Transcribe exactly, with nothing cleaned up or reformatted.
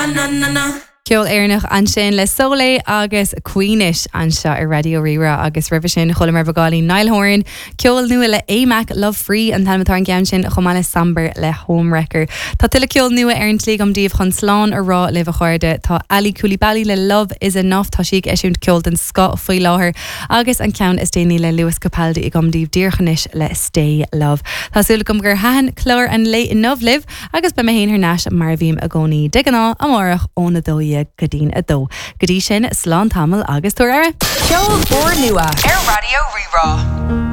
na na na na. Ceol Éireannach ansin le Sólé agus Queenish anseo ar Raidió Rí-Rá agus roimhe sin chualamar beagáinín Niall Horan, ceol nua le AMAC Love Free an t-ainm atá ar an gceann sin chomh maith le Samber le Homewrecker. Tá tuilleadh ceol nua ar an tslí agam daoibh chun slán a rá libh a chairde tá Ali Coulibaly le Love is Enough tá sí ag eisiúint ceol den scoth faoi láthair agus an ceann is déanaí le Lewis Capaldi agam daoibh díreach anois le Stay Love. Tá súil agam gur thaitin clár an lae inniu libh agus beidh mé féin thar n-ais mar a bhím i gcónaí de ghnáth amárach óna dó dhéag go dtí'n a dó. Go dtí sin slán tamall agus tabhair aire. Ceol úrnua ar Raidió Rí-Rá.